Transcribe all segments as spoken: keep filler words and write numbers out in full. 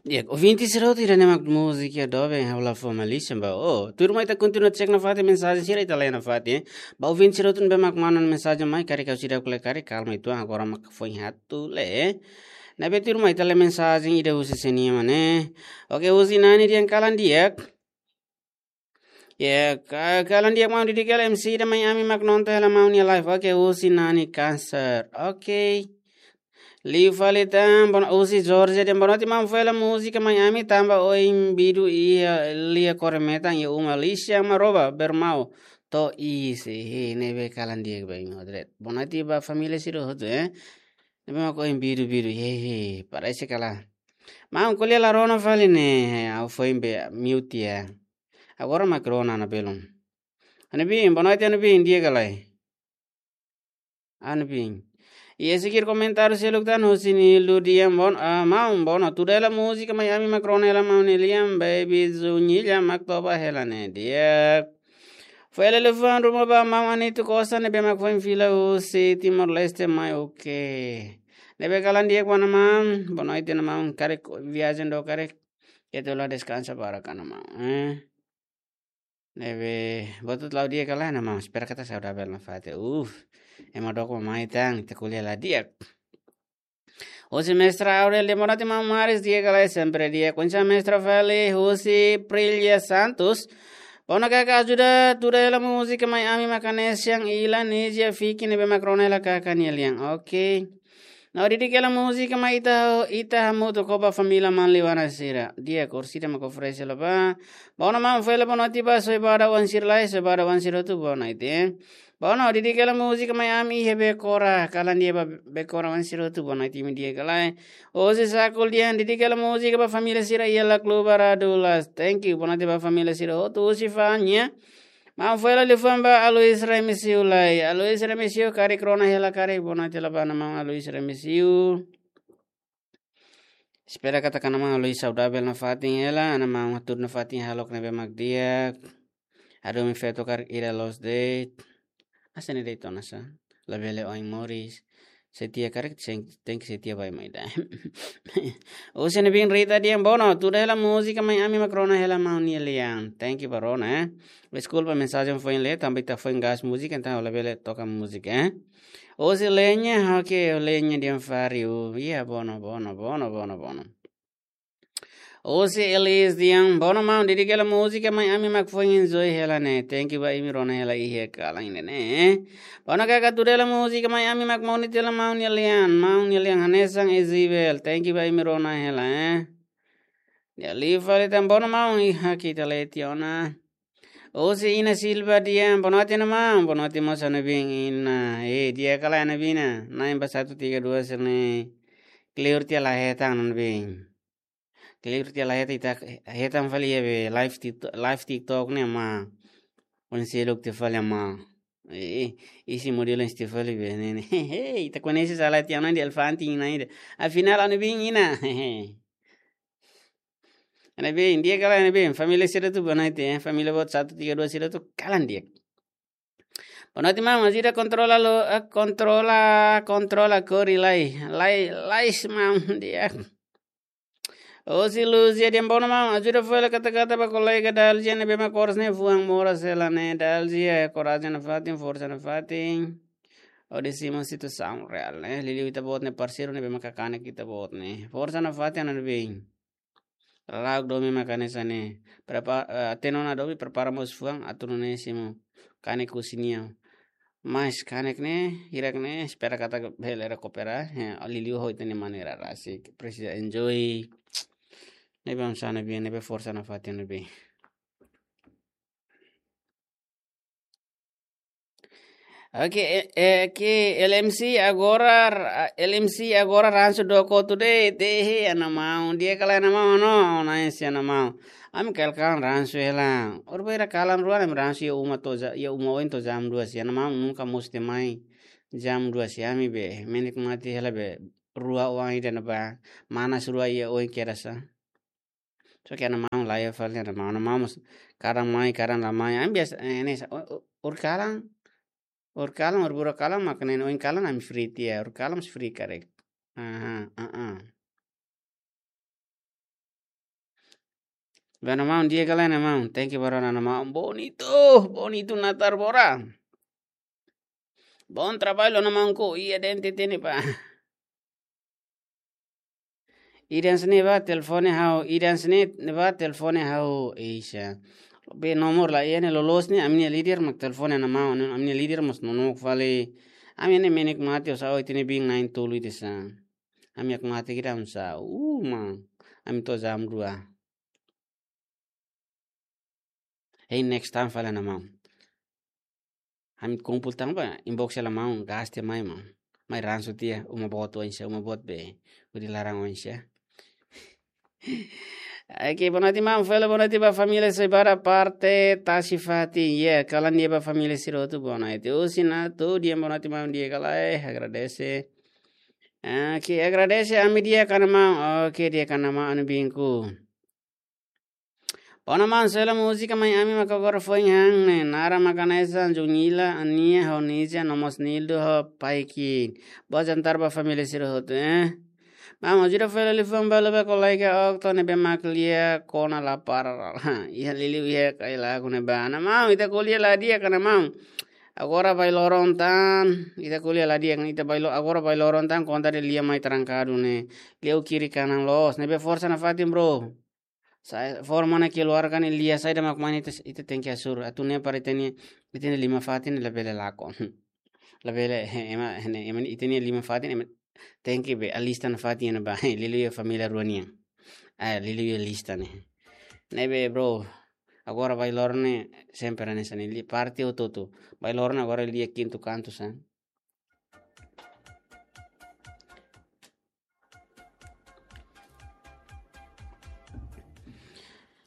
Ya, ouvinte sira hotu, ida-ne'e mak múzika doben, ha'u la fó malísia ba. Oh, tuirmai ita kontinua cek nafatin mensajen sira, ita lee nafatin, eh. Ba ouvinte sira hotu ne'ebé mak manda mensajen mai, karik ha'u seidauk lee, karik kalma uitoan, agora mak foin atu lee, eh. Ne'ebé tuirmai ita lee mensajen ida husi sé nian mak ne'e. Oke, husi Nani dehan kalan di'ak. Ya, ka-, kalan di'ak maun, didik hela M C ida mai ami mak nonton hela maun nia live. Oke, husi Nani Cancer. Oke. Liu fali tan, bono-, husi Georgia dehan bonoite maun, fó hela múzika mai ami tanba oin bidu iha lia kore metan iha uma, lixão marrom, bermau. To'o iis, he, ne'ebé kalan di'ak ba imi hotu de'it. Bonoite ba família sira hotu, eh. Ne'ebé mak oin bidu-bidu, he, he, parese kalan. Maun, ko'alia la rona fali ne'e, ha'u foin be mute tiha. Agora mak rona ona belun. Anubin, bonoite Anubin, di'ak ka lae? Anubin. Iha seguir komentáriu seluk tan husi Nildo dehan bon-, ah, maun, bono, tuda hela múzika mai ami mak rona hela maun nia lian, Baby Zunilha mak toba hela ne'e. Di'ak. Fó hela liafuan ruma ba maun Anito Costa ne'ebé mak foin fila husi Timor-Leste mai, oke. Ne'ebé kalan di'ak ba maun, bonoite maun, karik viajen do karik. Ita la deskansa barak ona maun, eh. Ne'ebé, buat hotu la'o di'ak ka lae maun, espera katak saudavel nafatin. Uf, ema dook mai tan, ita ko'alia la di'ak. Husi Mestra Aurel dehan bonoite maun Maris, di'ak ka lae, sempre di'ak. Oinsá Mestra fali, husi Prilia Santos. Bono kaka, ajuda tuda hela múzika mai ami mak hanesan Ilan, Nizia, Fiki ne'ebé mak rona hela kaka nia lian. Oke. Ha'u didik hela múzika mai ita, ita hamutuk ho ba família Manley Wana sira. Di'ak, orsida mak oferese hela ba. Bono maun, fó hela bonoite ba Soibada oan sira lai, Soibada oan sira hotu bonoite. Bono, didik hela múzika mai ami iha Bekora, kalan di'ak ba Bekora oan sira hotu, bonoite imi di'ak ka lae. Husi Sakul dehan didik hela múzika ba família sira iha Lacluba Radulas. Thank you, bonoite ba família sira hotu. Husi Fanya. Maun, fó hela liafuan ba Alois Remisiu lai. Alois Remisiu, karik rona hela karik, bonoite hela ba maun Alois Remisiu. Espera katak maun Alois saudavel nafatin hela, maun hatudu nafatin hahalok ne'ebé mak di'ak. Hadomi feto karik ida loos de'it. Hanesan ne'e de'it ona sá. Labele oin moris. Setia karik, sen-, tenke setia ba ema ida. Husi Anubin Rita dehan bono, tuda hela múzika mai ami mak rona hela maun nia lian. Thank you ba rona, eh. Deskulpa mensajen foin lee, tanba ita foin gas múzika, entaun labele toka múzika, eh. Husi Lenya, oke, Lenya dehan fariu. Iya, bono, bono, bono, bono, bono. Husi Elis dehan bono maun, didik hela múzika mai ami mak foin enjoy hela ne'e. Thank you ba imi rona hela iha kalan ida-ne'e. Bono kaka, tuda hela múzika mai ami mak moni tela maun nia lian. Maun nia lian hanesan Isabel. Thank you ba imi rona hela, eh. Di'ak, liu fali tan, bono maun, iha ita lee tiha ona. Husi Ina Silva dehan bonoite maun, bonoite mós Anubin Ina. Eh, di'ak ka lae Anubin Ina. Na'in ba satu tiga dua sira-ne'e. Kleur tiha la hetan Anubin. Kleur tiha la hetan, ita hetan fali iha be live TikTok, live TikTok ne'e maun. Oin seluk tiha fali maun. Eh, eh, isi modelu isi tiha fali be ne'e ne'e. Hehe, ita koñese sala tiha ona di elefante ina ida. Afinál Anubin Ina. Hehe. Anubin, di'ak ka lae Anubin, família sira hotu bonoite, eh, família boot satu tiga dua sira hotu kalan di'ak. Bonoite maun, ajuda kontrola lo, eh, kontrola, kontrola kori lai, lai, lais maun di'ak. Husi Luzia dehan bono maun, ajuda fó hela kata-kata ba kolega Dalzia ne'ebé mak oras ne'e fuan moras hela ne'e, Dalzia, korajen nafatin, forsa nafatin. Hodi simu situasaun reál ne'e, liuliu ita-boot nia parseiru ne'ebé mak kanek ita-boot ne'e. Forsa nafatin Anubin. Lauk domin mak hanesan ne'e. Prepa-, eh, hatene ona domin, prepara mós fuan, atu nune'e simu kanek husi nia. Mas kanek ne'e, hirak ne'e, espera katak bele rekupera, eh, liuliu ho ita-nia maneira rasik. Presiza enjoy. Ne'ebé oinsá Anubin, ne'ebé forsa nafatin Anubin. Oke, eh, eh, oke, L M C agora, ra-, L M C agora ransu dook hotu de'it, eh, ana maun, di'ak ka lae ana maun, no, nice ana maun. Ami kalan-kalan ransu hela. Orsida kalan rua, ami ransu iha uma to'o ja-, iha uma oin to'o jam dua siang, ana maun nunka mós atu mai jam dua siang, ami be, menik mate hela be, rua oan ida ne'ebá, manas rua iha oin kedas sá. Só ke ana maun laiha fali, ana maun, ana maun mós kadang mai, kadang la mai. Ami biasa, eh, ne'e sá, o-, o-, orsida kalan, orsida kalan, orsida buat kalan, mak ne'e oin kalan ami free tiha, orsida kalan mós free karik. Aha, ah, ah. Bem, maun, di'ak ka lae, maun? Thank you, bro, maun. Bonito, bonito natar bora. Bom trabalho, maun, ko ia dente tene pa. Idan sini ba telefone ha'u, idan sini ba telefone ha'u, Asia. Be nomor la iha ne'e loloos ne'e, ami-nia líder mak telefone ona maun, ami-nia líder mós nonook fali. Ami ne'e menik mate, oinsá ita-nia biin na'in tolu ida sa. Ami ak mate kira unsa, uma. Ami to'o jam dua. Hein next time fali ona maun. Ami kumpul tan ba inbox hela maun, gas tiha mai maun. Mai ransu tiha, uma boot oinsá, uma boot be. Hodi laran oinsá. Oke, boa noite maun, fali boa noite ba família Sebara parte Tasi Fati. Ya, kalan di'ak ba família sira hotu, boa noite. Husi Nato, di'ak, boa noite maun, di'ak ka lae, agradese. Oke, agradese ami di'ak ka lae maun. Oke, di'ak ka lae maun, ami-nia biinku. Boa noite maun, sela múzika mai ami mak agora foin han ne'e. Naran mak hanesan Junila, Ania, ho Nizia, no mós Nildo, ho Paikin. Boa jantar ba família sira hotu, eh. Maun, ajuda fali liafuan balu ba kolega Okto ne'ebé mak lia kona la para. Iha liuliu iha kailaku ne'ebá. Maun, ita ko'alia la di'ak ka lae maun? Agora bailoron tan, ita ko'alia la di'ak, ita bailo-, agora bailoron tan konta de'it lia mai trankadu ne'e. Lia ho kiri kanan loos, ne'ebé forsa nafatin, bro. Sa-, forma ne'e keluarkan lia saida mak mane ita, ita tenke asur. Atu ne'e para ita-nia, ita-nia liman fatin labele lakon. Labele, he, ema, he, ema ita-nia liman fatin, ema tenke be alista nafatin ba. Liuliu família rua nian. Ah, liuliu lista ne'e. Ne'ebé, bro. Agora bailoron ne'e sempre hanesan ne'e, li-, parte hotu-hotu. Bailoron ne'e agora lia kintu kantu sa.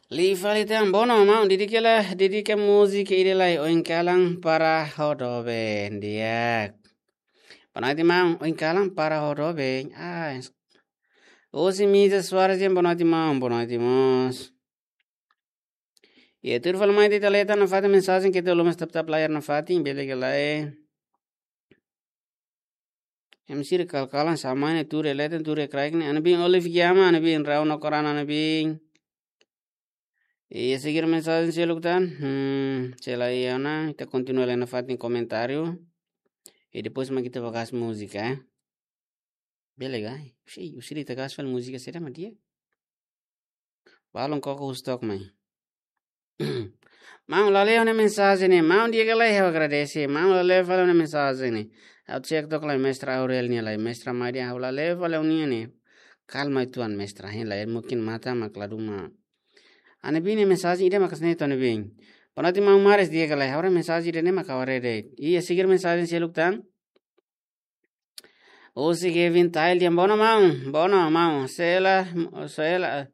Liu fali tan, boa noite maun, dedika la, dedika múzika ida lai, Oin Kalan para Ho Doben, di'ak. Boa noite maun, Oin Kalan para Ho Doben. Ah, es-, Osi Misa Soares, boa noite maun, boa noite mós. Ya, tuir fali mai ita leta nafatin mensajen, ita lori tap-tap layar nafatin, bele ka lae. Em sira kal-kalan sama ne'e, tuur iha leten, tuur iha kraik ne'e. Ami-nia biin Olive Giama, ami-nia biin Rau no Korana, ami-nia biin. Iha seguir mensajen seluk tan. Hmm, sela iha ona, ita kontinua lee nafatin komentáriu. I depois mak ita bá gas múzika, eh. Bele ka? Sei, husi ita gas fali múzika saida mak di'ak. Balun koko husi took mai. Maun, la lee ó-nia mensajen ne'e. Maun, di'ak ka lae, ha'u agradese. Maun, la lee fali ó-nia mensajen ne'e. Ha'u check took lai Mestra Aurel nian lai. Mestra Maria, ha'u la lee fali ó-nia ne'e. Kalma uitoan Mestra, hein lai. Mungkin matan mak la dún mak. Ami-nia biin nia mensajen ida mak hanesan ne'e to'o ami-nia biin. Boa noite maun Maris, di'ak ka lae. Ha'u haree mensajen ida-ne'e mak ha'u haree de'it. Iha seguir mensajen seluk tan. Husi Kevin Tail, di'ak, boa noite maun, boa noite maun. Sela, sela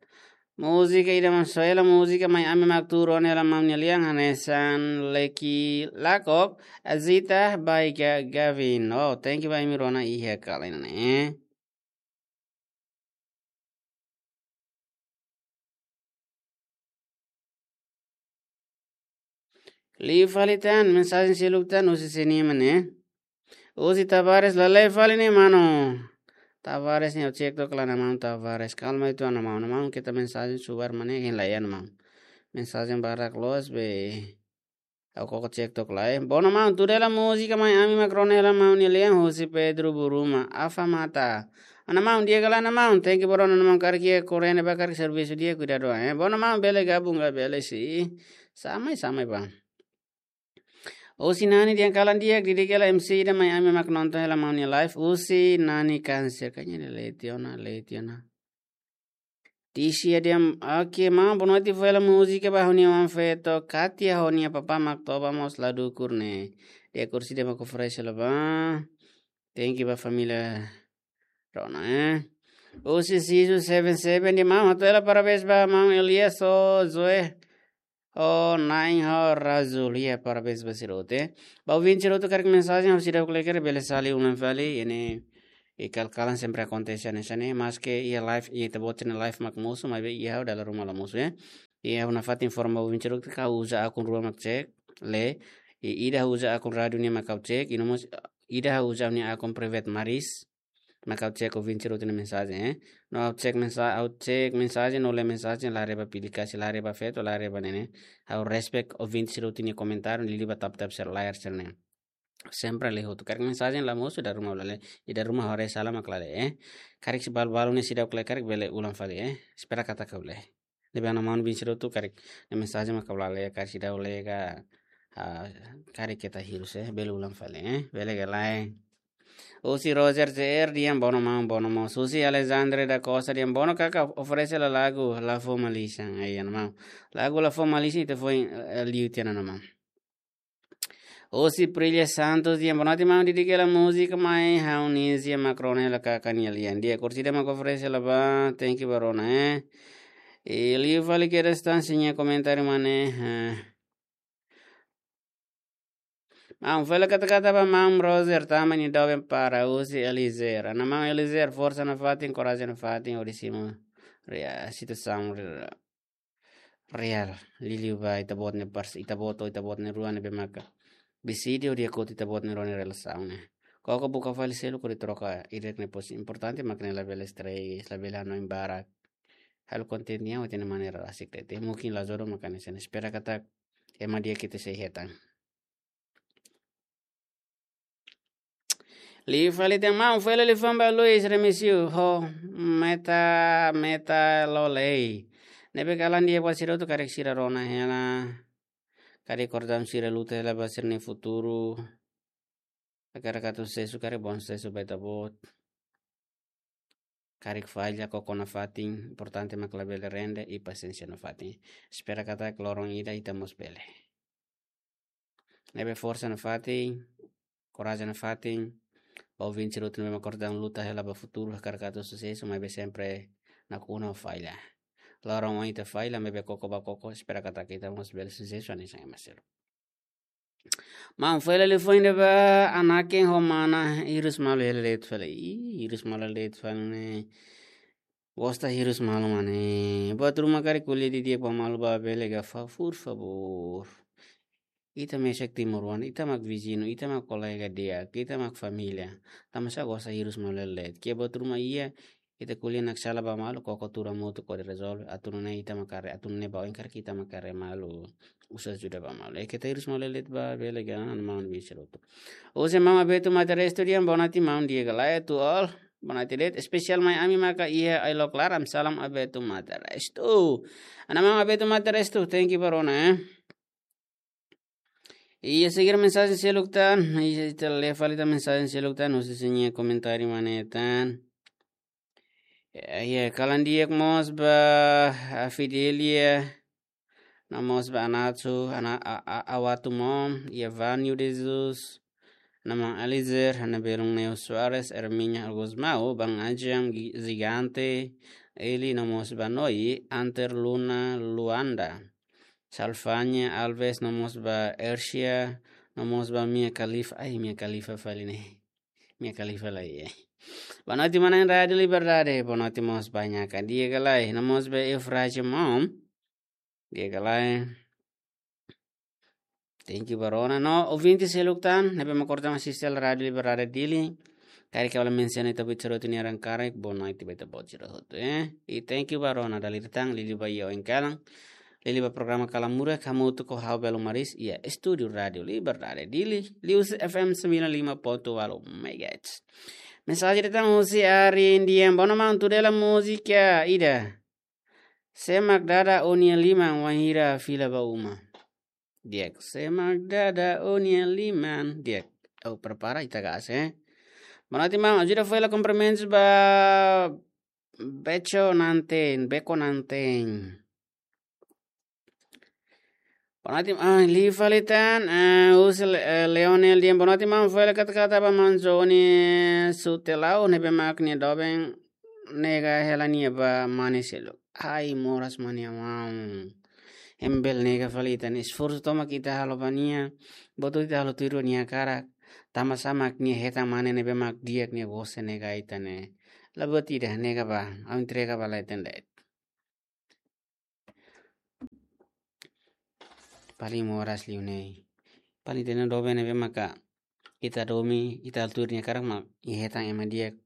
múzika ida maun, sela múzika mai ami mak tuur ona hela maun nia lian, hanesan Leki Lakok, Azita, by Ga-, Gavin. Oh, thank you ba imi rona iha kalan ne'e. Liu fali tan, mensajen seluk tan, husi sé nian mak ne'e. Husi Tavares, la lee fali ne'e, mano. Tavares ne'e, ha'u check took lai, maun Tavares. Kalma uitoan, maun. Maun, keta mensajen subar mak ne'e, hein lai, maun. Mensajen barak loos be. Ha'u koko check took lai. Boa noite maun, tuur hela múzika mai ami mak rona hela maun nia lian, husi Pedro Buruma. Afa mata. Maun, di'ak ka lae maun, thank you bro, maun, karik iha korrente ba karik servisu di'ak, kuidadu, eh. Boa noite maun, bele gabung ka, bele sei. Samai, samai ba. Husi Nani, di'ak, kalan di'ak, dedika la M C ida mai ami mak nonton hela maun nia live. Husi Nani Kanser, kanya de Letiona, Letiona. Tisia di'ak, oke, maun, boa noite, fó hela múzika ba ha'u-nia oan feto, Katia, ho nia papá mak toba mós la dukur ne'e. Di'ak, kursi di'ak mak oferese hela ba. Thank you ba família rona, eh. Husi Sisu seven seven, di'ak maun, hato'o hela parabéns ba maun Elias ho Zoe. Oh, Nain ho Razul, ya, parabéns ba sira hotu, eh. Ba ouvinte sira hotu karik mensajen, ha'u seidauk lee karik bele sali ulang fali, ne'e, i kal-kalan sempre akontese hanesan ne'e, maske iha live, iha ita-boot nia live mak mosu, maibé iha ha'u dala ruma la mosu, eh. Iha ha'u nafatin informa ouvinte sira hotu katak ha'u uza akun rua mak cek, lee, i ida ha'u uza akun rádiu nian mak ha'u cek, i no mós ida ha'u uza nia akun private Maris. Maka ha'u cek ouvinte sira hotu nia mensajen, eh. No ha'u cek mensa-, ha'u cek mensajen, no lee mensajen, la haree ba publikasi, la haree ba feto, la haree ba ne'e ne'e. Ha'u respect ouvinte sira hotu nia komentáriu, liuliu ba tap-tap sira, like sira ne'e. Sempre lee hotu. Karik mensajen la mosu, ida ruma la lee. Ida ruma haree sala mak la lee, eh. Karik sei balu-balu ne'e seidauk lee, karik bele ulang fali, eh. Espera katak lee. Ne'ebé ana maun bin sira hotu karik nia mensajen mak la lee, karik seidauk lee ka, ah, karik keta hirus, eh, bele ulang fali, eh, bele ka lae. Husi Roger J R, di'ak, bono maun, bono maun. Husi Alexandre da Costa, di'ak, bono kaka, oferese lai lagu La Fó Malisan. Ai, ana maun. Lagu La Fó Malisan ita foin, eh, liu tiha ona, ana maun. Husi Prilia Santos, di'ak, bonoite maun, dedika hela múzika mai ha'u-nia isin mak rona hela kaka nia lian. Di'ak, orsida mak oferese lai ba, thank you ba rona, eh. I liu fali kedas tan sira-nia komentáriu mak ne'e, eh. Maun, fó hela kata-kata ba maun Roger, tama nia doben para husi Eliezer. Ana maun Eliezer, forsa nafatin, korajen nafatin, hodi simu rea-, situasaun re-, reál. Liuliu ba ita-boot nia pars-, ita-boot, ita-boot nia rua ne'ebé maka beside hodi hakotu ita-boot nia rua nia relasaun ne'e. Koko buka fali seluk hodi troka ida-ne'e, pois importante mak ne'e, labele stress, labele hanoin barak. Halo kontente nian hotu nia maneira rasik de'it. Mungkin la jodoh mak hanesan ne'e. Espera katak ema di'ak ita sei hetan. Liu fali tan maun, fó hela liafuan ba Luis Remesio ho Meta, Meta Lolei. Ne'ebé kalan di'ak ba sira hotu, karik sira rona hela. Karik kordam sira luta hela ba sira-nia futuru. Hakarak atu susesu, karik bom susesu ba ita-boot. Karik falla, koko nafatin, importante mak labele rende i pasiénsia nafatin. Espera katak loron ida ita mós bele. Ne'ebé forsa nafatin, korajen nafatin, ouvinte sira hotu ne'ebé mak kordam luta hela ba futuru, hakarak atu susesu, maibé sempre nakonu falla. Loron oin ita falla, maibé koko ba koko, espera katak ita mós bele susesu hanesan ema seluk. Maun, fó hela liafuan ida ba Anaken ho Mana, hirus malu hela de'it fali. Ih, hirus malu hela de'it fali ne'e. Gosta hirus malu mak ne'e. Buat ruma karik ko'alia didi'ak ba malu ba bele ka fa, por favor. Ita mesak timoroan, ita mak viziñu, ita mak kolega di'ak, ita mak família. Tanbasá gosta hirus malu hela de'it. Ke buat ruma iha, ita ko'alia naksala ba malu, koko tuur hamutuk hodi rezolve. Atu nune'e ita mak haree, atu nune'e ba oin karik ita mak haree malu. Uza ajuda ba malu. Eh, keta hirus malu hela de'it ba bele ka, ana maun bin sira hotu. Husi maun Abetu Mata Restu, di'ak, bonoite maun, di'ak ka lae, to all. Bonoite de'it, espesiál mai ami maka iha Ailok Laran, salam Abetu Mata Restu. Ana maun Abetu Mata Restu, thank you ba rona, eh. Iha seger mensajen seluk tan, iha ita lee fali tan mensajen seluk tan, husi sira-nia komentáriu mak ne'e tan. Iha, iha, kalan di'ak mós ba, ah, Fidelia, no mós ba Anato, ana, a, a, Awatu Mom, iha Vânio de Jesus, no maun Elizer, ana belun Neo Soares, Herminia Gusmão, Bang Ajam, Gi-, Gigante, Eli, no mós ba Noi, Anter Luna, Luanda. Salfania Alves, no mós ba Ersia, no mós ba Mia Khalifa. Ai, Mia Khalifa fali ne'e. Mia Khalifa laiha. Bonoite maun-alin Rádio Liberdade, bonoite mós ba Nhaka, di'ak ka lae, no mós ba Eufrasia Mom, di'ak ka lae. Thank you ba rona. No ouvinte seluk tan ne'ebé mak kordam asiste Rádio Liberdade Dili. Karik ha'u la mensiona ita-boot sira hotu nia naran karik, bonoite ba ita-boot sira hotu, eh. I thank you ba rona, dala ida tan, liuliu ba iha oin kalan. Liuliu ba programa Kalan Murak, hamutuk ho ha'u Belo Maris, iha estúdiu Rádio Liberdade Dili, liuhusi F M sembilan lima ponto walu megahertz. Mensajen ida tan husi Ari Indian, bono maun, tuda hela múzika ida. Sé mak dada ó-nia liman wainhira fila ba uma. Di'ak, sé mak dada ó-nia liman. Di'ak, ha'u prepara, ita kase. Bonoite maun, ajuda fó hela kumprimentus ba Becho Nanten, Beko Nanten. Bonoite, ah, liu fali tan, eh, husi Le-, eh, Leonel Dian, bonoite maun, fó hela kata-kata ba maun Johnny Sutelau, ne'ebé mak nia doben nega hela nia ba mane seluk. Ai, moras mane maun. Ema bele nega fali ita-nia esforsu tomak ita halo ba nia. Buat hotu ita halo tuir nia hakarak. Tanbasá mak nia hetan mane ne'ebé mak di'ak, nia gosta nega ita ne'e. La buat ida, nega ba, ha'u entrega ba leten de'it. Paling moras liu ne'e. Paling ita-nia doben ne'ebé maka ita domin, ita halo tuir nia hakarak mak nia hetan ema di'ak.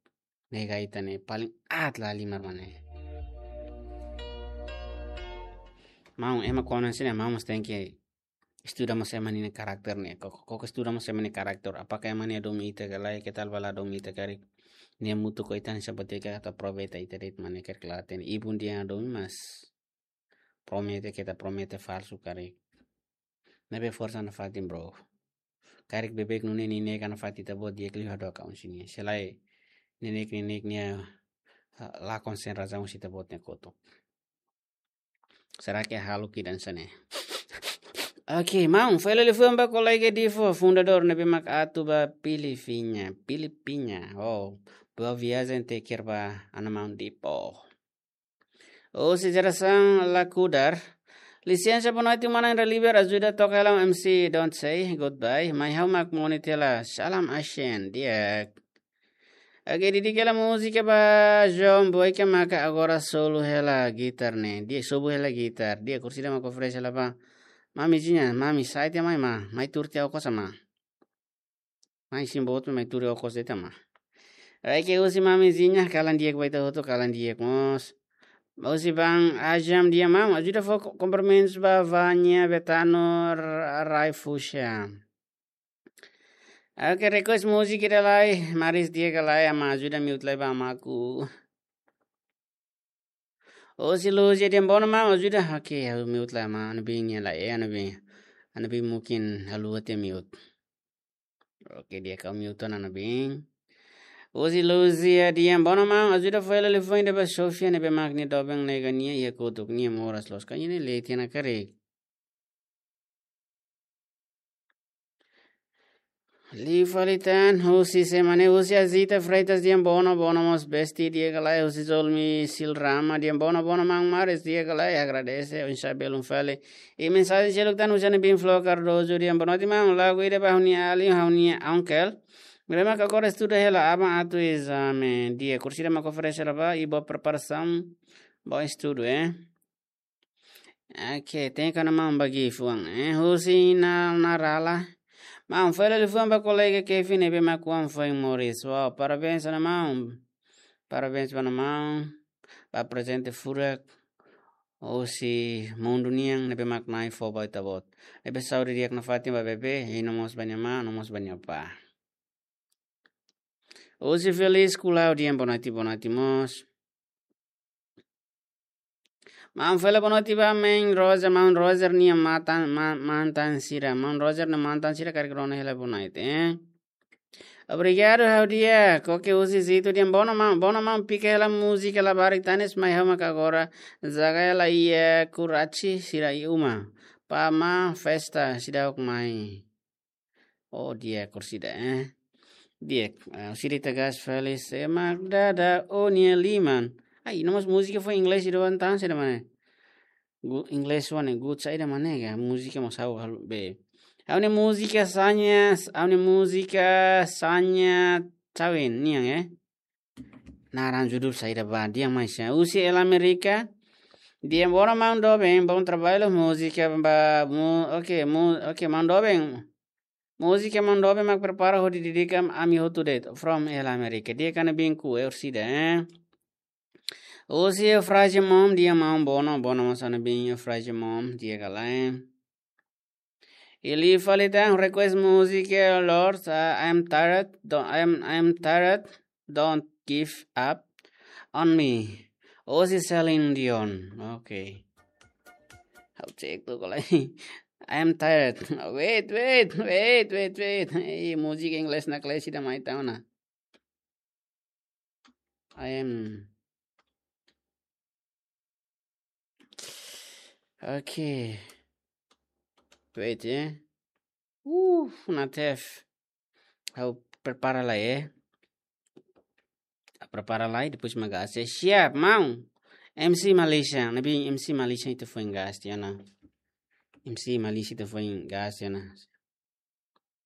nega ita ne'e paling aat la halimar mak ne'e. Maun, ema kuandu hanesan ne'e, maun mós tenke estuda mós ema nia karakter ne'e. Koko, koko estuda mós ema nia karakter. Apakah ema ne'e hadomi ita ka lae, ke tal bala hadomi ita karik. Nia hamutuk ho ita hanesan buat ida ke atu aproveita ita de'it mak ne'e, karik la hatene. Ibun dehan hadomi, mas promete, keta promete falsu karik. Ne'ebé forsa nafatin, bro. Karik beibeik nune'e nia neka nafatin ita-boot, di'ak liu hadook aun sini. Se lae nia neka, nia neka nia, ah, lakon sen razaun husi ita-boot nia kotuk. Será que halo ki dan sane? Ok, maun, fali liafuan ba kolega Divo, fundadór ne'ebé mak atu ba Pilipinya, Pilipinya. Oh, boa viagem, take care ba ana maun Divo. Husi Jerasaun Lakudar. Lisensa, boa noite, mana Indra Liber, ajuda toka hela M C, Don't Say Goodbye. Mai ha'u mak moni tiha hela, Salam Asian, di'ak. Oke, didik hela múzika ba João Boy ke maka agora solo hela gitar ne'e. Di'ak, sobu hela gitar. Di'ak, Kursida mak oferese hela ba. Mamizinha, mami, sai tiha mai, ma. Mai tuur tiha okos, ma. Mai simu boot, mai tuur okos de'it, ma. Oke, husi mamizinha, kalan di'ak ba ita hotu, kalan di'ak mós. Husi Bang Ajam, di'ak maun, ajuda fó ko-, komprimentus ba Vanya Betano Ra-, Raifusha. Oke, request múzika ida lai, maris di'ak ka lae, ama ajuda mute lai ba amaku. Husi Luzia, di'ak, boa noite maun, ajuda. Oke, ha'u mute lai, ama, anu bin nia lai, eh, anu bin. Anu bin mungkin haluha tiha mute. Oke, di'ak, ha'u mute ona anu bin. Husi Luzia, di'ak, boa noite maun, ajuda fó hela liafuan ida ba Sofia ne'ebé mak nia doben nega nia iha kotuk, nia moras loos. Ka nia ne'e leti ona karik. Liu fali tan, husi semana, husi Azita Freitas, di'ak, boa noite, boa noite mós besti, di'ak ka lae, husi Zolmi Silrama, di'ak, boa noite, boa noite maun, maris di'ak ka lae, agradese, oinsá belun fali. I mensajen seluk tan husi anu bin Flo Cardoso, di'ak, boa noite maun, lagu ida ba ha'u-nia alin, ha'u-nia uncle. Ne'ebé mak agora estuda hela, aban atu ezame, di'ak, Kursida mak oferese hela ba, i boa preparasaun, boa estudu, eh. Oke, tenke ona maun ba gift wan, eh, husi Nal Narala. Maun, fali liafuan ba kolega Kevin ne'ebé mak oan foin moris. Wow, parabéns ona maun. Parabéns ba ona maun. Ba prezente furak husi mundu nian ne'ebé mak Na'i fó ba ita-boot. Ne'ebé saúde di'ak nafatin ba bebé, i no mós ba nia amá, no mós ba nia apá. Husi Feliz Kulau, di'ak, boa noite, boa noite mós. Maun, fali boa noite ba maun Roger, maun Roger nia matan, ma-, mantan sira. Maun Roger nia mantan sira karik rona hela boa noite, eh. Obrigadu, ha'u di'ak. Oke, husi Zito, di'ak, boa noite maun, boa noite maun, pika hela múzika labarik tanis, mai ha'u mak agora zaga hela iha Kuraci sira iha uma. Pama festa, seidauk mai. Oh, di'ak, Kursida, eh. Di'ak, eh, Kursida ita gas fali, se mak dada ó-nia liman. Ai, no mós múzika foin inglés ida wan tan, saida mak ne'e? Gu-, inglés wan ne'e, good saida mak ne'e ka, múzika mós ha'u halo be. Ha'u-nia múzika sanya, ha'u-nia múzika sanya tawin, nian, eh. Naran judul saida ba, di'ak, mai sa. Husi El América, di'ak, boa noite maun doben, bom trabalho, múzika ba, mu-, oke, mu-, oke, maun doben. Múzika maun doben mak prepara hodi dedika ami hotu de'it. From El América. Di'ak, anu bin ku, eh, Kursida, eh. Husi Eufrasia Mom, di'ak maun, boa noite, boa noite mós anu bin Eufrasia Mom, di'ak ka lae. I liu fali tan request múzika, eh, Lord, uh, I'm tired, don't, I'm, I'm tired, don't give up on me. Husi Celine Dion. Oke. Ha'u cek tu kalau I'm tired. Wait, wait, wait, wait, wait. Ei, múzika inglés naklees ida mai tan ona. I am. Okay. Wait, eh. Uh, natef. Ha'u prepara lai, eh. Prepara lai, depois mak gas. Siap, maun. M C Malaysia, ne'ebé M C Malaysia ita foin gas tiha ona. M C Malaysia ita foin gas tiha ona.